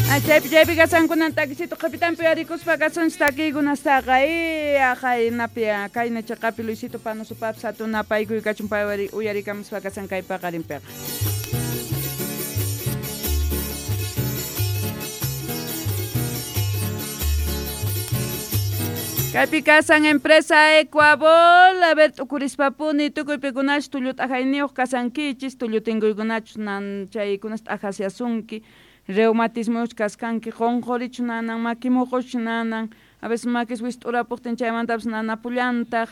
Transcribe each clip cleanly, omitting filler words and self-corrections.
Chaypi chaypi kasankunan takisito qhipitanpi uyarikuspa kasunchis takiykunastaqa aqay napi kayna chiqapi Luisito Panosupapis hatun napaykuy kachun pay uyarikamuspa kasan kay paqarinpiqa. Kaypi kasan empresa Ecuabol, a ver t'ukurispapuni tukuy pikunachu tullu t'ajayniyuq kasankichis, tullu tinkuykunachus nan chaykunas t'ajasiasunki, reumatismoyuq kaskanki, qunqurichu nanan, maki muquchu nanan, a veces makis wist'urapuqtin chaymantapis nanapullantaq.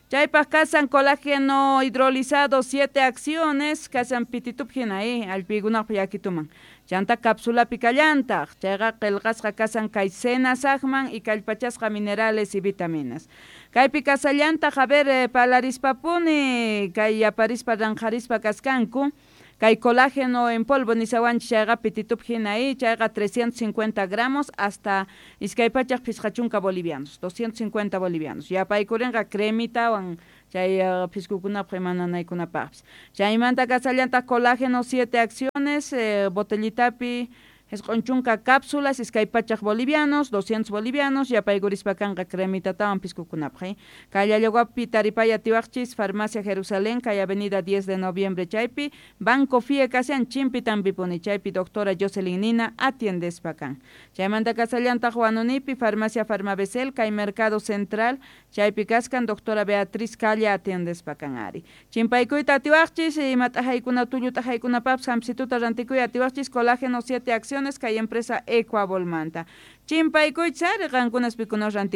Chaypaq kasan colágeno hidrolizado 7 acciones, kasan pititup hina allpiykunaqpa yakituman. Chanta cápsulapi kallantaq, chayqa qillqasqa kasan kay senasaqman y kallpachasqa minerales y vitaminas. Kaypi kasallantaq, a ver, palarispapuni, kay yaparispa ranqharispa kaskanku, kay colágeno en polvo nisawanchis chayqa pititup hina chayqa 350 gramos hasta 250 bolivianos, 250 bolivianos. Yapaykurinqa cremitawan chay piskukunapaq imananaykunapaqpis. Chaymanta kasallantaq colágeno 7 acciones, botellitapi 90 cápsulas, 200 bolivianos, 200 bolivianos, yapaykurispa kanqa cremitatawan piskukunapaq. Kay Llallagüapi taripay atiwaqchis, Farmacia Jerusalén, kay Avenida 10 de Noviembre chaypi, Banco FIE kasian chimpi tampipuni chaypi doctora Jocelyn Nina atiendespa kan. Chaymanta kasallantaq Huanunipi, Farmacia Farmabesel, kay Mercado Central, chaypi kaskan doctora Beatriz Calla atiendespa kan ari. Chimpaykuyta atiwaqchis, ima t'ajaykuna tullu t'ajaykunapapis hampsituta rantikuy atiwaqchis, colágeno 7 acciones kay empresa Ecuabolmanta. Chimpaykuychis ari qankunas pikunas rantik